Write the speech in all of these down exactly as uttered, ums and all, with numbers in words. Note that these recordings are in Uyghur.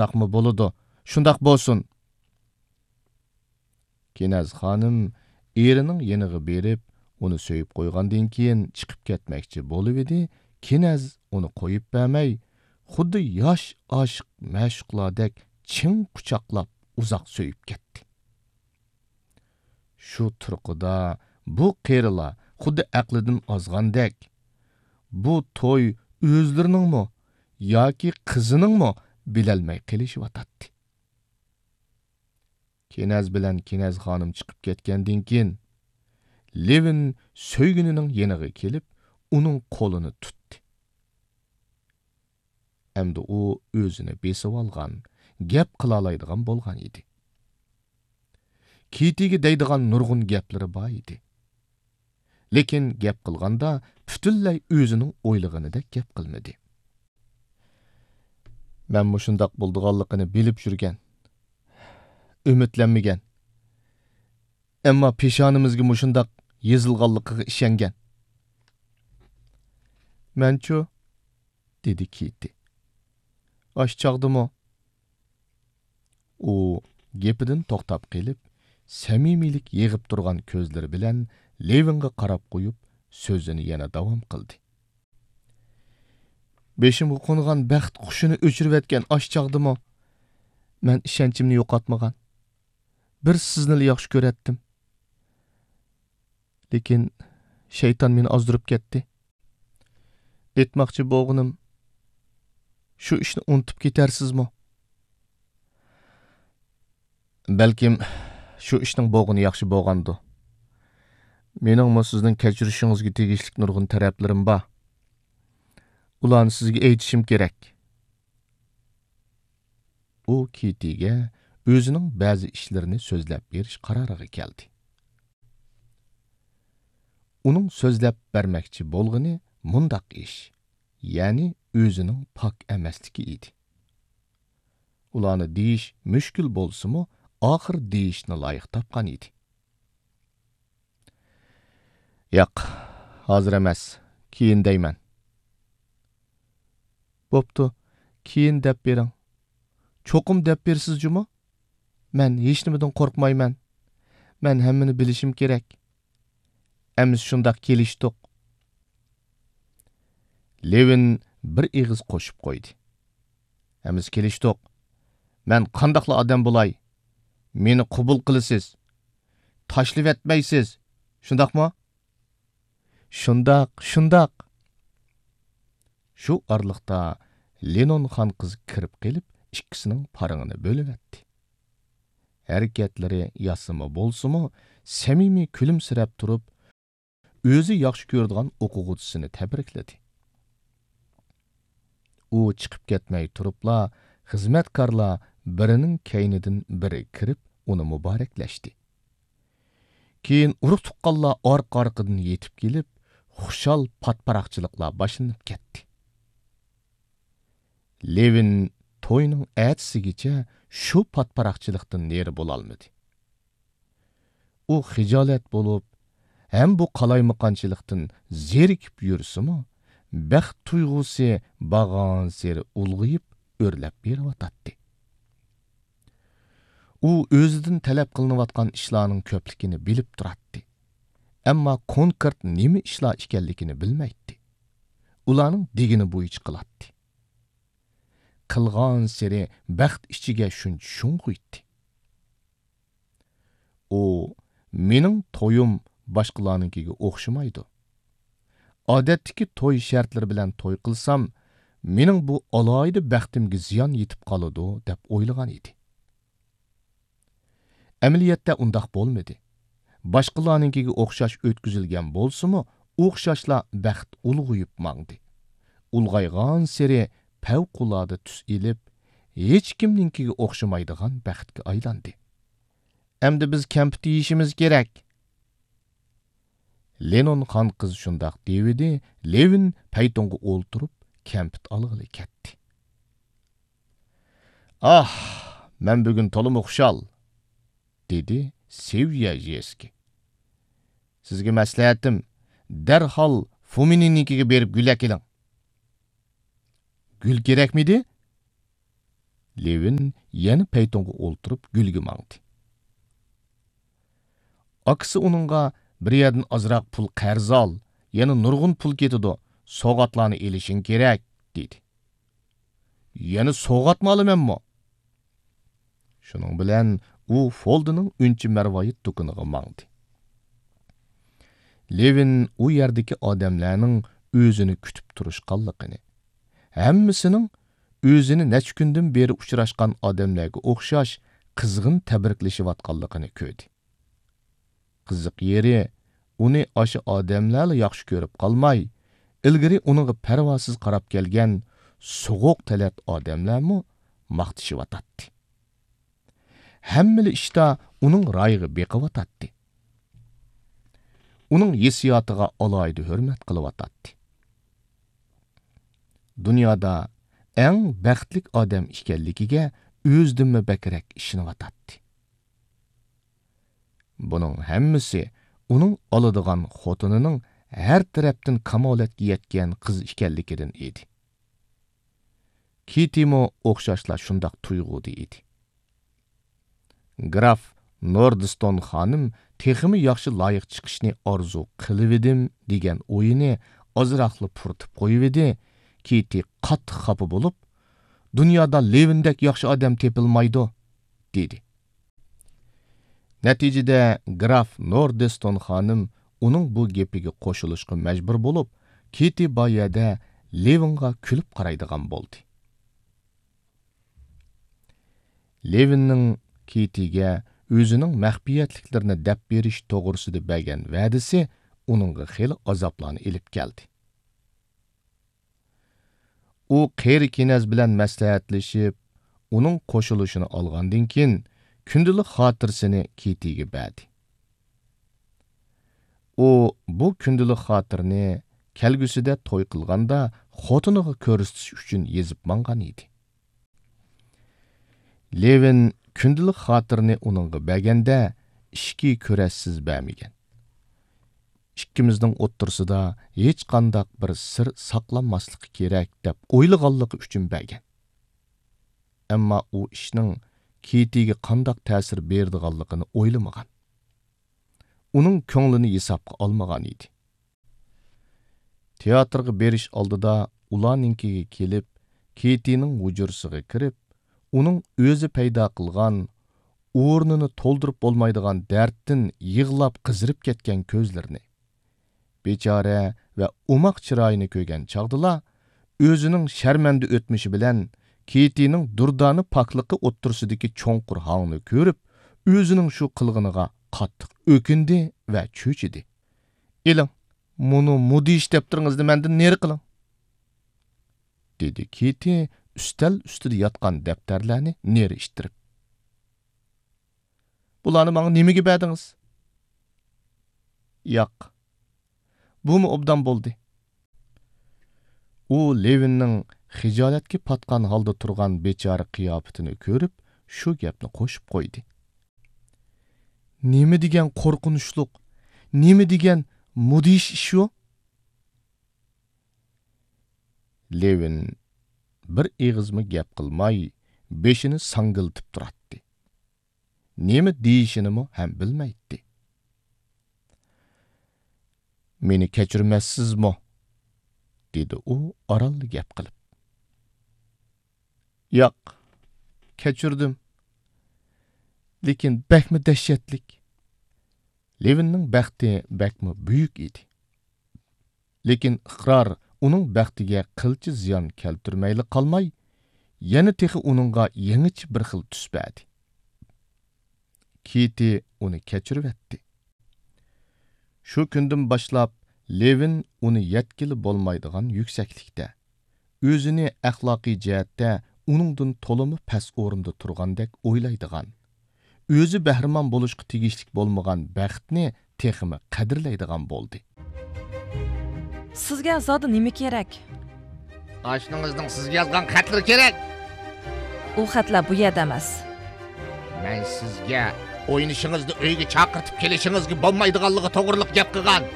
شۇنداقمۇ بولىدۇ؟ شۇنداق بولسۇن. كېنەز خانىم ئېرىنىڭ يېنىغا بېرىپ، ئۇنى سۆيۈپ قويغاندىن كېيىن چىقىپ كەتمەكچى بولۇۋىدى، كېنەز ئۇنى قويۇپ بەرمەي، خۇددى ياش ئاشىق مەشۇقلاردەك چىڭ قۇچاقلاپ ئۇزاق سۆيۈپ كەتتى. شۇ تۇرقىدا بۇ قېرىلار خۇددى ئەقلىدىن ئازغاندەك، بۇ توي ئۆزلىرىنىڭمۇ ياكى قىزىنىڭمۇ بىلەلمەي قېلىشىۋاتاتتى. كېنەز بىلەن كېنەز خانىم چىقىپ كەتكەندىن كېيىن، لېۋىن سۆيگىنىنىڭ يېنىغا كېلىپ، ئۇنىڭ قولىنى تۇتتى. ئەمدى ئۇ ئۆزىنى بېسىۋالغان، گەپ قىلالايدىغان بولغان ئىدى. كىتىگە دەيدىغان نۇرغۇن گەپلىرى بار ئىدى. لېكىن گەپ قىلغاندا پۈتۈنلەي ئۆزىنىڭ ئويلىغىنىدەك گەپ قىلمىدى. مەن مۇشۇنداق بولىدىغانلىقىنى بىلىپ يۈرگەن، ئۈمىدلەنمىگەن. ئەمما پېشانىمىزگە مۇشۇنداق يېزىلغانلىقىغا ئىشەنگەن. مەنچۇ؟ دېدى كىتى. ئاشۇ چاغدىمۇ؟ ئۇ گېپىدىن توختاپ قېلىپ، سەمىمىيلىك يېغىپ تۇرغان كۆزلىرى بىلەن لېۋىنغا قاراپ قويۇپ، سۆزىنى يەنە داۋام قىلدى. بېشىمغا قونغان بەخت قۇشىنى ئۆچۈرۈۋەتكەن ئاشۇ چاغدىمۇ مەن ئىشەنچىمنى يوقاتمىغان. بىر سىزنىلا ياخشى كۆرەتتىم. لېكىن شەيتان مېنى ئازدۇرۇپ كەتتى. ئېيتماقچى بولغىنىم، شۇ ئىشنى ئۇنتۇپ كېتەرسىزمۇ؟ بەلكىم شۇ ئىشنىڭ بولغىنى ياخشى بولغاندۇ. مېنىڭمۇ سىزنىڭ كەچۈرۈشىڭىزگە تېگىشلىك نۇرغۇن تەرەپلىرىم بار. ئۇلارنى سىزگە ئېيتىشىم كېرەك. ئۇ كىتىگە ئۆزىنىڭ بەزى ئىشلىرىنى سۆزلەپ بېرىش قارارىغا كەلدى. ئۇنىڭ سۆزلەپ بەرمەكچى بولغىنى مۇنداق ئىش، يەنى ئۆزىنىڭ پاك ئەمەسلىكى ئىدى. ئۇلارنى دېيىش مۈشكۈل بولسىمۇ، ئاخىر دېيىشنى لايىق تاپقان ئىدى. ياق، ھازىر ئەمەس، كېيىن دەيمەن. بوپتۇ، كېيىن دەپ بېرىڭ. چوقۇم دەپ بېرىسىز جۇمۇ؟ مەن ھېچنېمىدىن قورقمايمەن. مەن ھەممىنى بىلىشىم كېرەك. ئەمىسە شۇنداق كېلىشتۇق. لېۋىن بىر ئېغىز قوشۇپ قويدى. ئەمىسە كېلىشتۇق. مەن قانداقلا ئادەم بولاي؟ مېنى قوبۇل قىلىسىز. تاشلىۋەتمەيسىز. شۇنداقمۇ؟ شۇنداق، شۇنداق. شۇ ئارىلىقتا لېنون خان قىز كىرىپ قېلىپ، ئىككىسىنىڭ پارىڭىنى بۆلۈۋەتتى. ھەرىكەتلىرى ياسىما بولسىمۇ، سەمىمىي كۈلۈمسىرەپ تۇرۇپ، ئۆزى ياخشى كۆرىدىغان ئوقۇغۇچىسىنى تەبرىكلىدى. ئۇ چىقىپ كەتمەي تۇرۇپلا، خىزمەتكارلار بىرىنىڭ كەينىدىن بىرى كىرىپ، ئۇنى مۇبارەكلەشتى. كېيىن ئۇرۇق-تۇغقانلار ئارقا-ئارقىدىن يېتىپ كېلىپ، خۇشال پاتپاراقچىلىقلار باشلىنىپ كەتتى. لېۋىن توينىڭ ئەتىسىگىچە شۇ پاتپاراقچىلىقتىن نېرى بولالمىدى. ئۇ خىجالەت بولۇپ، ھەم بۇ قالايمىقانچىلىقتىن زېرىكىپ يۈرسىمۇ، بەخت تۇيغۇسى بارغانسېرى ئۇلغىيىپ، ئۆرلەپ بېرىۋاتاتتى. ئۇ ئۆزىدىن تەلەپ قىلىنىۋاتقان ئىشلارنىڭ كۆپلۈكىنى بىلىپ تۇراتتى. ئەمما كونكرېت نېمە ئىشلار ئىكەنلىكىنى بىلمەيتتى. ئۇلارنىڭ دېگىنى بويىچە قىلاتتى. قىلغانسېرى بەخت ئىچىگە شۇنچە شۇڭغۇيتتى. ئۇ، «مېنىڭ تويۇم باشقىلارنىڭكىگە ئوخشىمايدۇ. ئادەتتىكى توي شەرتلىرى بىلەن توي قىلسام، مېنىڭ بۇ ئالاھىدە بەختىمگە زىيان يېتىپ قالىدۇ» دەپ ئويلىغان ئىدى. ئەمەلىيەتتە ئۇنداق بولمىدى. باشقىلارنىڭكىگە ئوخشاش ئۆتكۈزۈلگەن بولسىمۇ، ئوخشاشلا بەخت ئۇلغىيىپ ماڭدى. ئۇلغايغانسېرى پەۋقۇلئاددە تۈس ئېلىپ، ھېچكىمنىڭكىگە ئوخشىمايدىغان بەختكە ئايلاندى. «ئەمدى بىز كەمپۈت يېيىشىمىز كېرەك.» لېنون خان قىز شۇنداق دېۋىدى، لېۋىن پەيتۇنغا ئولتۇرۇپ، كەمپۈت ئالغىلى كەتتى. «ئاھ، مەن بۈگۈن تولىمۇ خۇشال!» دېدى سېۋيە ژېسكى. «سىزگە مەسلىھەتىم، دەرھال فۇمىننىڭكىگە بېرىپ گۈل ئەكېلىڭ.» «گۈل كېرەكمىدى؟» لېۋىن يەنە پەيتۇنغا ئولتۇرۇپ گۈلگە ماڭدى. ئاكىسى ئۇنىڭغا، «بىر يەردىن ئازراق پۇل قەرز ئال، يەنە نۇرغۇن پۇل كېتىدۇ، سوۋغاتلارنى ئېلىشىڭ كېرەك» دېدى. «يەنە سوۋغاتمۇ ئالىمەنمۇ؟» شۇنىڭ بىلەن ئۇ فولدىنىڭ ئۈنچە مەرۋايىت دۇكىنىغا ماڭدى. لېۋىن ئۇ يەردىكى ئادەملەرنىڭ ئۆزىنى كۈتۈپ تۇرۇشقانلىقىنى، ھەممىسىنىڭ ئۆزىنى نەچچە كۈندىن بېرى ئۇچراشقان ئادەملەرگە ئوخشاش قىزغىن تەبرىكلىشىۋاتقانلىقىنى كۆردى. قىزىق يېرى، ئۇنى ئاشۇ ئادەملەرلا ياخشى كۆرۈپ قالماي، ئىلگىرى ئۇنىڭغا پەرۋاسىز قاراپ كەلگەن سوغۇق تەلەت ئادەملەرمۇ ماختىشىۋاتاتتى. ھەممىلا ئىشتا ئۇنىڭ رايىغا بېقىۋاتاتتى. ئۇنىڭ ھېسسىياتىغا ئالاھىدە ھۆرمەت قىلىۋاتاتتى. دۇنيادا ئەڭ بەختلىك ئادەم ئىكەنلىكىگە ئۆزىدىنمۇ بەكرەك ئىشىنىۋاتاتتى. بۇنىڭ ھەممىسى ئۇنىڭ ئالىدىغان خوتۇنىنىڭ ھەر تەرەپتىن كامالەتكە يەتكەن قىز ئىكەنلىكىدىن ئىدى. كىتىمۇ ئوخشاشلا شۇنداق تۇيغۇدا ئىدى. گراف نوردستون خانىم تېخىمۇ ياخشى لايىق چىقىشنى ئارزۇ قىلىۋىدىم دېگەن ئويىنى ئازراقلا پۇرىتىپ قويۇۋىدى، كىتى قاتتىق خاپا بولۇپ، «دۇنيادا لېۋىندەك ياخشى ئادەم تېپىلمايدۇ» دېدى. نەتىجىدە گراف نوردستون خانىم ئۇنىڭ بۇ گېپىگە قوشۇلۇشقا مەجبۇر بولۇپ، كىتى بۇ يەردە لېۋىنغا كۈلۈپ قارايدىغان بولدى. لېۋىننىڭ كىتىگە ئۆزىنىڭ مەخپىيەتلىكلىرىنى دەپ بېرىش توغرىسىدا بەرگەن ۋەدىسى ئۇنىڭغا خېلى ئازابلارنى ئېلىپ كەلدى. ئۇ قېرى كېنەز بىلەن مەسلىھەتلىشىپ، ئۇنىڭ قوشۇلۇشىنى ئالغاندىن كېيىن، كۈندىلىك خاتىرىسىنى كىتىگە بەردى. ئۇ بۇ كۈندىلىك خاتىرىنى كەلگۈسىدە توي قىلغاندا خوتۇنىغا كۆرسىتىش ئۈچۈن يېزىپ ماڭغان ئىدى. لېۋىن كۈندىلىك خاتىرىنى ئۇنىڭغا بەرگەندە، ئىچكى كۈرەشسىز بەرمىگەن. «ئىككىمىزنىڭ ئوتتۇرىسىدا ھېچقانداق بىر سىر ساقلانماسلىقى كېرەك» دەپ ئويلىغانلىقى ئۈچۈن بەرگەن. ئەمما ئۇ ئىشنىڭ كىتىگە قانداق تەسىر بېرىدىغانلىقىنى ئويلىمىغان. ئۇنىڭ كۆڭلىنى ھېسابقا ئالمىغان ئىدى. تىياتىرغا بېرىش ئالدىدا ئۇلارنىڭكىگە كېلىپ، كىتىنىڭ ھۇجرىسىغا كىرىپ، ئۇنىڭ ئۆزى پەيدا قىلغان، ئورنىنى تولدۇرۇپ بولمايدىغان دەردتىن يىغلاپ قىزىرىپ كەتكەن كۆزلىرىنى، بىچارە ۋە ئوماق چىرايىنى كۆرگەن چاغدىلا، ئۆزىنىڭ شەرمەندە ئۆتمۈشى بىلەن كىتىنىڭ دۇردانە پاكلىقى ئوتتۇرىسىدىكى چوڭقۇر ھاڭنى كۆرۈپ، ئۆزىنىڭ شۇ قىلغىنىغا قاتتىق ئۆكۈندى ۋە چۆچۈدى. «ئېلىڭ، مۇنۇ مۇدھىش دەپتىرىڭىزنى مەندىن نېرى قىلىڭ!» دېدى كىتى ئۈستەل ئۈستىدە ياتقان دەپتەرلەرنى نېرى ئىتتىرىپ. «بۇلارنى ماڭا نېمىگە بەردىڭىز؟» «ياق، بۇمۇ ئوبدان بولدى.» ئۇ لېۋىننىڭ خىجالەتكە پاتقان ھالدا تۇرغان بىچارە قىياپىتىنى كۆرۈپ، شۇ گەپنى قوشۇپ قويدى. «نېمە دېگەن قورقۇنچلۇق، نېمە دېگەن مۇدھىش ئىش ئۇ!» لېۋىن بىر ئېغىزمۇ گەپ قىلماي، بېشىنى ساڭگىلىتىپ تۇراتتى. نېمە دېيىشىنىمۇ ھەم بىلمەيتتى. «مېنى كەچۈرمەسسىزمۇ؟» دېدى ئۇ ئارانلا گەپ قىلىپ. «ياق، كەچۈردۈم. لېكىن بەكمۇ دەھشەتلىك.» لېۋىننىڭ بەختى بەكمۇ بۈيۈك ئىدى. لېكىن ئىقرار ئۇنىڭ بەختىگە قىلچە زىيان كەلتۈرمەيلا قالماي، يەنە تېخى ئۇنىڭغا يېڭىچە بىر خىل تۈس بەردى. كىتى ئۇنى كەچۈرۈۋەتتى. شۇ كۈندىن باشلاپ لېۋىن ئۇنى يەتكىلى بولمايدىغان يۈكسەكلىكتە، ئۆزىنى ئەخلاقىي جەھەتتە ئۇنىڭدىن تولىمۇ پەس ئورۇندا تۇرغاندەك ئويلايدىغان، ئۆزى بەھرىمەن بولۇشقا تېگىشلىك بولمىغان بەختنى تېخىمۇ قەدىرلەيدىغان بولدى. سىزگە زادى نېمە كېرەك؟ ئاشنىڭىزنىڭ سىزگە يازغان خەتلىرى كېرەك. ئۇ خەتلەر بۇ يەردە ئەمەس. مەن سىزگە ئوينىشىڭىزنى ئۆيگە چاقىرتىپ كېلىشىڭىزگە بولمايدىغانلىقى توغرىلىق گەپ قىلغان.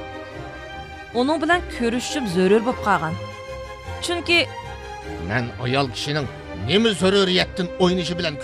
ئۇنىڭ بىلەن كۆرۈشۈشۈم زۆرۈر بولۇپ قالغان. چۈنكى مەن ئايال كىشىنىڭ نېمە زۆرۈرىيەتتىن ئوينىشى بىلەن